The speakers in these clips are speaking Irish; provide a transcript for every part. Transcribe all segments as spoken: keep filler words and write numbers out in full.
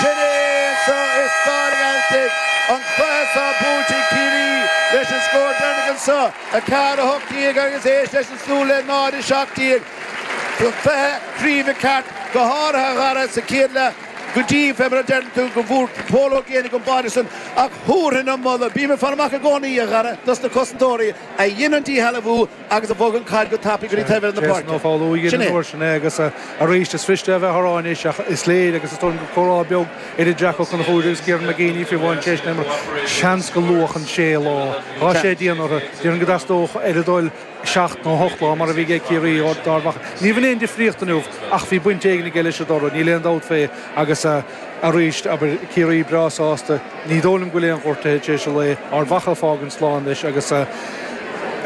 Sin é anseo i Staid an Ghealtaigh, an cluiche seo buaite ag Ciarraí leis an scór deireanach anseo, a ceathair a hocht déag agus éist leis an slua le náid a seacht déag. Cluiche craoibhe ceart, go háirithe a Dhara sa chéad leath go dtí, fé mar a deireann tú, go bhfuair Pól Ó Géibheannaigh an báide san ach thabharfainn an moladh, bím ag fáil amach i gcónaí, a Dhara, dos na cosantóirí a dhein an díshealbhú agus a bhog an chaid go tapaidh go dtí taobh eile na páirce. Jason Ó Foghlú a dhein an uair sin é agus arís is fuiriste a bheith á rá anois ach is léir agus is dóigh liom go comhrá beag idir Jack Ó Conchúir agus Kieran McGeeney fiú amháin tar éis na himeartha, seans go luath an sé lá, tá sé dian orthu, déarfainn go dteastódh ar a dtoil seacht nó hocht lá mar a bhí ag Ciarraí d'Ard Mhacha. Ní bhain aon difríocht inniu ach bhí baint éigin aige leis an dtoradh, níl aon dabht fé agus arís, abair, Ciarraí breá sásta, ní dóigh liom go bhfuil aon ghortuithe tar éis an lae, Ard Mhacha ag fágaint slán leis agus ar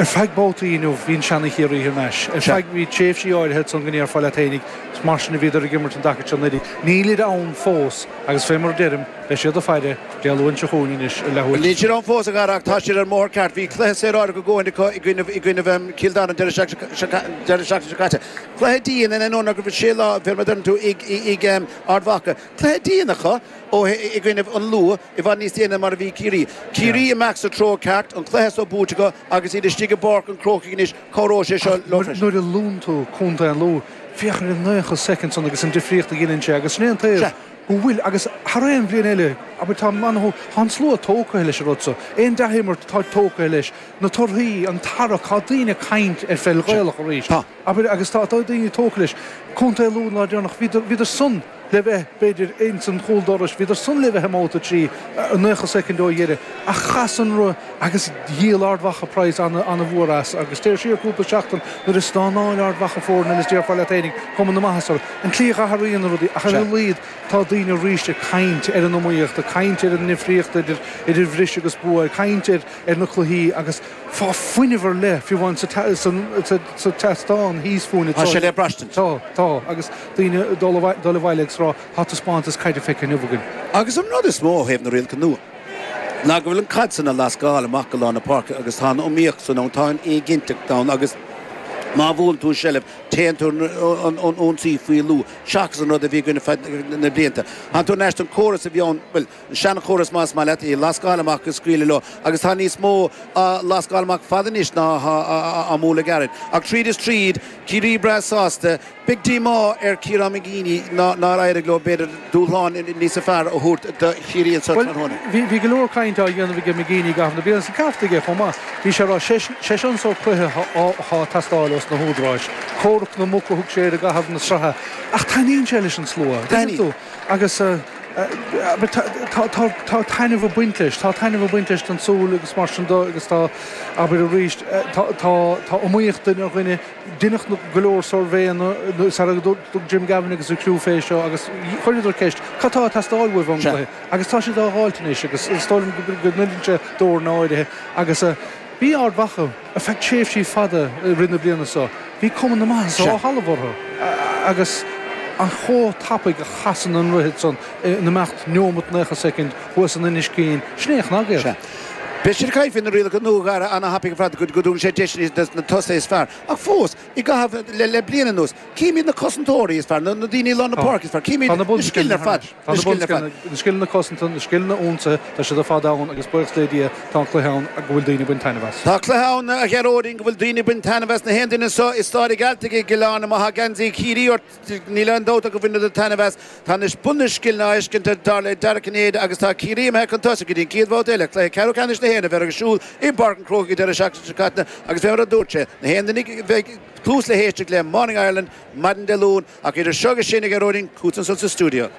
feadh babhtaí inniu bhí an seana Chiarraí thar n-ais. Ar feadh, bhí tréimhsí áirithe ansan go ndéarfá leat fhéinig, mar sin a bhíodar ag imirt an dtaca seo anuraidh. Nílid ann fós agus fé mar a deirim, Beidh siad ag faire Dé Luain seo chugainn anois ar leathuair. Níl siad ann fós, a Dhara, ach tá siad ar an mbóthar ceart. Bhí cluiche saoráideach a dhóthain acu i gcoinnibh, i gcoinnibh Chill Dara an deireadh seachtaine seo caite. Cluiche dian in ainneoin go raibh sé lá, fé mar a deireann tú, ag, ag Ard Mhacha. Cluiche dian acu ó, i gcoinnibh an Lú, i bhfad níos déine mar a bhí Ciarraí. Ciarraí ag imeacht sa treo ceart, an cluiche so buaite acu agus iad istigh i bPáirc an Chrócaigh anois, cabhróidh sé seo leo freisin. Nuair a luann tú contae an Lú, féach ar an naocha soicind san agus an difríocht a dheineann sé agus sin é an taobh. go bhfuil, agus thar aon bhliain eile, abair, tá, tá an slua tógtha leis an rud so, aon dea-imirt tá tógtha leis, na torthaí, an tarrac, tá daoine ag caint ar pheil Ghaelach arís, abair, agus tá daoine tógtha leis. Contae Lú an lá deireanach, bhíodar, bhíodar san le bheith, b'fhéidir, ins an chúl dorais, bhíodar san le bheith i mbabhta a trí, naocha soicind ó dheireadh, ach chas an roth agus dhíol Ard Mhacha praghas ana-mhór as, agus téir siar cúpla seachtain nuair a stánáil Ard Mhacha foireann eile is déarfá leat fhéinig, cuma na maitheasa orthu. An tslí a athraíonn na rudaí, ach ar a laghad tá daoine arís ag caint ar an iomaíocht, ag caint ar an ndifríocht idir idir bhris agus bua, ag caint ar ar na cluichí agus tá fuinneamh ar leith, fiú amháin sa sa sa tseastán thíos fúinn Tá sé le braistint. Tá, tá, agus daoine ag dul dul abhaile agus rá tá taispeántas caide feicthe inniu againn. Agus an rud is mó ó thaobh na rialacha nua ná go bhfuil an caid san á lascáil amach go lár na páirce agus tá an iomaíocht san ann, tá an éiginnteacht ann agus má bhuann tú seilbh téann tú an ionsaí faoi lú seachas an rud a bhí againn ar feadh na blianta. Tánn tú ar ais don chóras a bhí ann, bhuel, an seanchóras más maith leat, í a lascáil amach agus scaoileadh leo agus tá níos mó á lascáil amach fada anois ná á mbualadh gairid. Ach tríd is tríd, Ciarraí breá sásta. Beidh díomá ar Chiarán McGeeney nár éirigh leo, b'fhéidir, dúshlán níosa fearr a thabhairt do Chiarraí anso Bhuel, tráthnóna. bhí, bhí go leor cainte á dhéanamh aige McGeeney i gcaitheamh na bliana, is an ceart aige chomh maith. Bhí sé ag rá, sé, sé seo an sórt cluiche atá, atá ag teastáil ós na húdaráis. Comhrac na muc a thug sé air i gcaitheamh na sraithe. Ach taitníonn sé leis an slua, tuigeann tú? Agus eh, tá, tá, tá, tá taitneamh ag baint leis, tá taitneamh ag baint leis don tsúil agus mar sin de agus tá, abair arís, eh, tá, tá, tá iomaíocht duine ar dhuine, Deineadh go leor suirbhéanna sara dtug Jim Gavin agus a chriú fé seo agus chuireadar ceist, cad tá ag teastáil uaibh ón gcluiche? Agus tá siad á dh'fháilt anois agus is dóigh liom go n-oireann sé d'fhoireann áirithe agus bhí Ard Mhacha ar feadh tréimhsí fada i rith na bliana seo, bhí cuma na maitheasa ó thalamh orthu agus an chomh tapaidh a chasann an ruathar san in imeacht neomat naocha soicind thuas in Inis Caoin, sin é a chnag iad. Beidh siad ag caint faoi na rialacha nua, a Dhara, ana-thapaidh ar fad go dtugann sé deiseanna dos na tosaithe is fearr. Ach fós, i gcaitheamh le bliain anuas, címid na cosantóirí is fearr, na daoine i lár na páirce is fearr, címid na scileanna ar fad. Tá na bunscileanna, na scileanna cosanta, na scileanna ionsaithe, tá siad ar fad ann agus buíochas le Dia tá an cluiche ann go bhfuil daoine ag baint taitneamh as. Tá cluiche ann, a Ghearóidín, go bhfuil daoine ag baint taitneamh as. Na haon duine anseo i Staid an Ghealtaigh i gCill Airne, má tá geansaí Chiarraí ort, Níl aon dabht ach go bhfuil tú ag taitneamh as. Tá anois bun na scileanna á fheiscint dar le Dara Cinnéide agus tá Ciarraí imithe chun tosaigh go dtí an chéad bhabhta eile, cluiche ceathrú ceannais na hÉireann a bheidh ar siúl i bPáirc an Chrócaigh an deireadh seachtaine seo caite agus fé mar a dúirt sé, na haon duine a bheidh cluas le héisteacht le Morning Ireland maidin Dé Luain ach idir seo agus sin a Ghearóidín, chugat ansan sa stiúideo.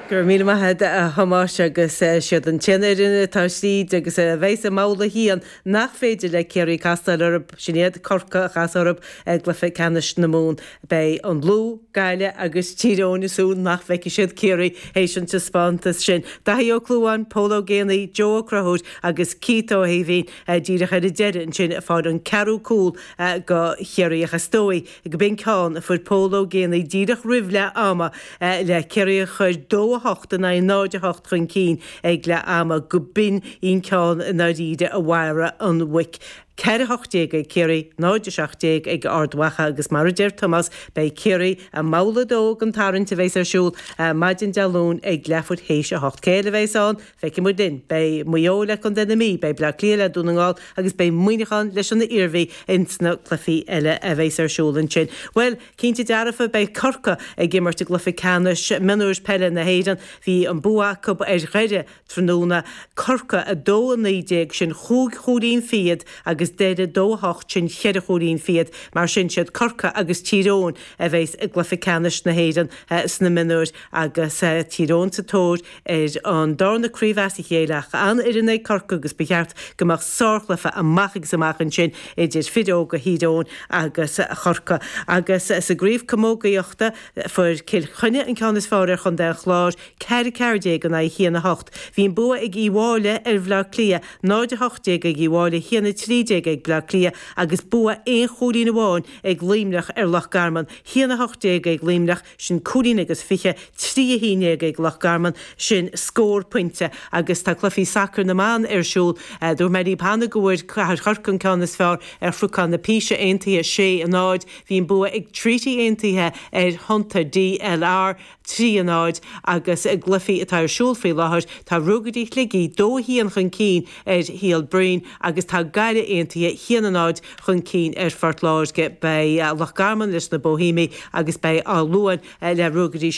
Go raibh míle maith agat a Thomáis agus siad an t-aon fhoireann atá tríd agus a bheidh i mbabhta a haon nach féidir le Ciarraí castáil orthu, sin iad Corcaigh a chas orthu i gcluiche ceannais na Mumhan. Beidh an Lú, Gaillimh agus Tír Eoghain ag súil nach bhfeicfidh siad Ciarraí théis an taispeántas sin. Daithí Ó Clúmháin, Pól Ó Géibheannaigh, Joe Ó Conchúir agus Keith Ó hAoibhín díreach ar an deireadh ansin ag fáil an ceathrú cúl do Chiarraí ach is dóigh go b'in ceann a fuair Pól Ó Géibheannaigh díreach roimh leath ama le Ciarraí a chur dó a hocht in aghaidh náid a hocht chun cinn ag leath ama go b'in an ceann i ndáiríre a mharaigh an mhuic. Ceithre a hocht déag ag Ciarraí, náid a seacht déag ag Ard Mhacha agus mar a deir Tomás, beidh Ciarraí i mbabhla a dó den tarraingt a bheas ar siúl maidin Dé Luain ag leathuair théis a hocht. Cé eile a bheas ann? Feicfidh muid linn. Beidh Maigh Eo le Contae na Mí, beidh Bleá Cliath le Dún na nGall agus beidh Muineachán leis an Iarmhí ins na cluichí eile a bheas ar siúl ansin. Bhuel, cinnte dearfa beidh Corcaigh ag imirt i gcluiche ceannais mionúir peile na hÉireann. Bhí an bua acu ar Dhoire tráthnóna. Corcaigh a dó a naoi déag, sin chúig chúilín fichead agus Doire dó a hocht, sin cheithre chúilín fichead. Mar sin siad Corcaigh agus Tír Eoghain a bheas i gcluiche ceannais na hÉireann sna mionúir agus Tír Eoghain sa tóir ar an darna craobh as a chéile ach an-fhoireann ag Corcaigh agus ba cheart go mbeadh sárchluiche amach agus amach ansin idir fir óga Thír Eoghain agus Chorcaigh. Agus sa gcraobh camógaíochta fuair Cill Chainnigh an ceann is fearr ar Chontae an Chláir, ceathair a ceathair déag in aghaidh a haon a hocht. Bhí an bua ag Uíbh Fhailí ar Bhleá Cliath, náid a hocht déag ag Uíbh Fhailí, a haon a trí déag ag Bleá Cliath agus bua aon chúilín amháin ag Luimneach ar Loch Garman, a haon a hocht déag ag Luimneach, sin cúilín agus fiche, trí a haon déag ag Loch Garman, sin scór pointe. Agus tá cluichí sacair na mban ar siúl. Dúirt mé libh cheana go bhfuair Cathair Chorcaí an ceann is fearr ar Chnocán na Píse Aontaithe, sé a náid. Bhí an bua ag Treaty Aontaithe ar Thonnta DLR, trí a náid, agus i gcluichí atá ar siúl faoi láthair tá Ruagairí Shligigh dó a haon chun cinn ar Shíol Broin agus tá Gaillimh Aontaithe haon a náid chun cinn ar Phort Láirge. Beidh Loch Garman leis na Boihéamaigh agus beidh Áth Luain le Ruagairí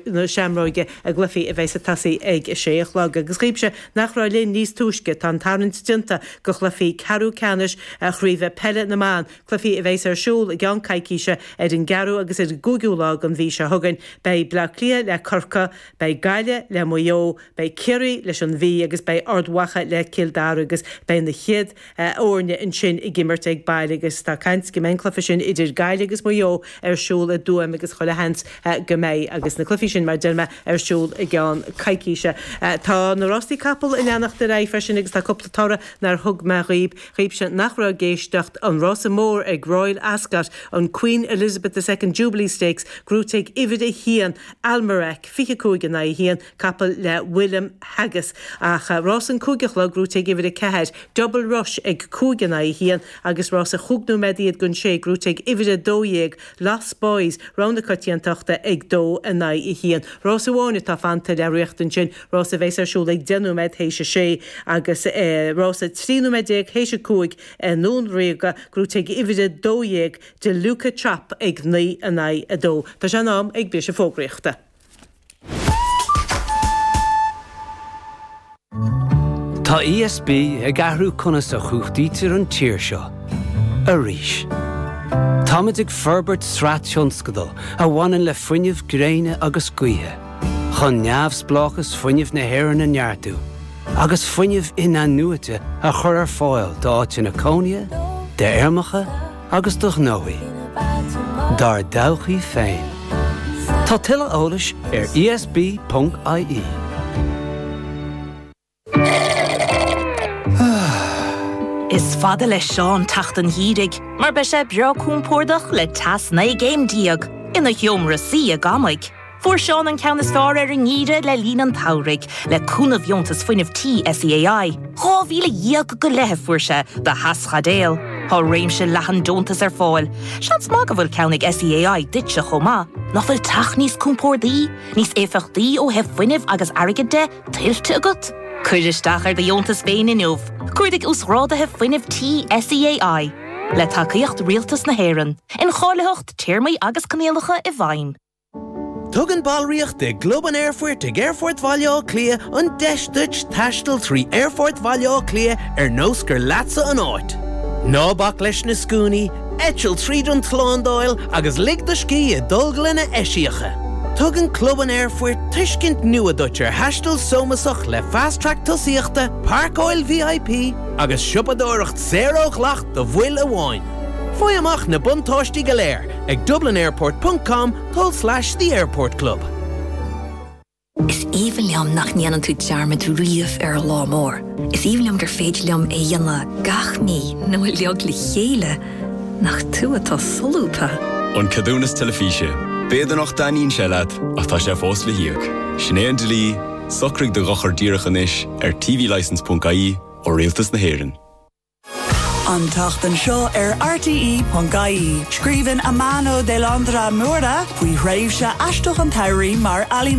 na Seamróige i gcluichí a bheas ag tosaí ag a sé a chlog. Agus dhaoibhse nach raibh linn níos túisce, tá an tarraingt déanta do chluichí ceathrú ceannais Chraoibhe Peile na mBan, cluichí a bheas ar siúl i gceann coicíse ar an gceathrú agus ar an gcúigiú lá den mhí seo chugainn. Beidh Bleá Cliath le Corcaigh, beidh Gaillimh le Maigh Eo, beidh Ciarraí leis an Mhí agus beidh Ard Mhacha le Cill Dara agus beidh na chéad fhoirne ansin ag imirt ag baile agus tá caint go mbeidh an cluiche sin idir Gaillimh agus Maigh Eo ar siúl i dTuaim agus chuile sheans go mbeidh agus na cluichí sin mar deir mé ar siúl i gceann coicíse. Tá na rástaí capall ag leanacht ar aghaidh freisin agus tá cúpla toradh nár thug mé dhaoib, dhaoibhse nach raibh ag éisteacht, an rása mór ag Royal Ascot, an Queen Elizabeth the Second Jubilee Stakes, gnóthaithe ag uimhir a haon, Almerac, fiche cúig in aghaidh a haon, capall le William Haggas. Ach rás an cúig a chlog, gnóthaithe ag uimhir a ceathair, Double Rush ag cúig in aghaidh a haon agus rás a chúig nóiméad iad don sé, gnóthaithe ag uimhir a dó dhéag, Lost Boys, rogha na coitiantachta ag dó in aghaidh a haon. Rás amháin atá fanta le rith ansin, rás a bheas ar siúl ag deich nóiméad théis a sé agus rás a trí nóiméad déag théis a cúig i nDún Ríoga, gnóthaithe ag uimhir a dó dhéag, De Luca Chop ag naoi in aghaidh a dó. Tá sé in am ag briseadh fógraíochta. Tá ESB ag athrú conas a chumhachtaítear an tír seo. Arís. Táimid ag forbairt sraith tionscadal a bhaineann le fuinneamh gréine agus gaoithe, chun neamhspleáchas fuinnimh na hÉireann a neartú, agus fuinneamh in-athnuaite a chur ar fáil d'áiteanna cónaithe, d'fheirmeacha agus do ghnóthaí. Dár dtodhchaí féin. Tá tuilleadh eolais ar ESB.ie. Is fada le Seán teacht an gheimhridh, mar beidh sé breá compordach le teas naoi gcéim déag ina sheomra suí i gCamaigh. Fuair Seán an ceann is fearr ar an ngeimhreadh le linn an tsamhraidh, le cúnamh Dheontas Fuinnimh Tí SEAI. Dhá mhíle dhéag go leith a fuair sé do theaschaidéal. Tá réimse leathan deontas ar fáil. Seans maith go bhfuil ceann ag SEAI duitse chomh maith. Nach bhfuil teach níos compordaí, níos éifeachtaí ó thaobh fuinnimh agus airgid de, tuillte agat? Cuir isteach ar do dheontas féin inniu. Cuardaigh Uasghráduithe Fuinnimh Tí SEAI. Le tacaíocht Rialtas na hÉireann. Incháilitheacht, téarmaí agus coinníollacha i bhfeidhm. Tugann ballraíocht i gClub an Aerfoirt ag Aerfort Bhaile Átha Cliath an deis duit taisteal trí Aerfort Bhaile Átha Cliath ar nós gur leatsa an áit. Ná bac leis na scuainí, eitil tríd an tslándáil agus lig do scíth i dtolglanna eisiacha. Tugann Club an Aerfoirt tuiscint nua duit ar thaisteal sómasach le Fast Track tosaíochta, páirceáil VIP agus siopadóireacht saor ó dhleacht do bhaill amháin. Faigh amach na buntáistí go léir ag dublinairport ponc com tulslais The Airport Club. Is aoibhinn liom nach ndéanann tú dearmad riamh ar an lá mór. Is aoibhinn liom gur féidir liom é a dhéanamh gach mí nó uilig le chéile. Nach tú atá solúbtha! An Ceadúnas Teilifíse. B'fhéidir nach dtaitníonn sé leat, ach tá sé fós le híoc. Sin é an dlí, socraigh do dhochar díreach anois ar tvlicence ponc ie ó Rialtas na hÉireann. An tseachtain seo ar RTE.ie. Scríobhann Amano de Landra Mura faoi thréimhse aisteach an tsamhraidh mar ealaíontóir.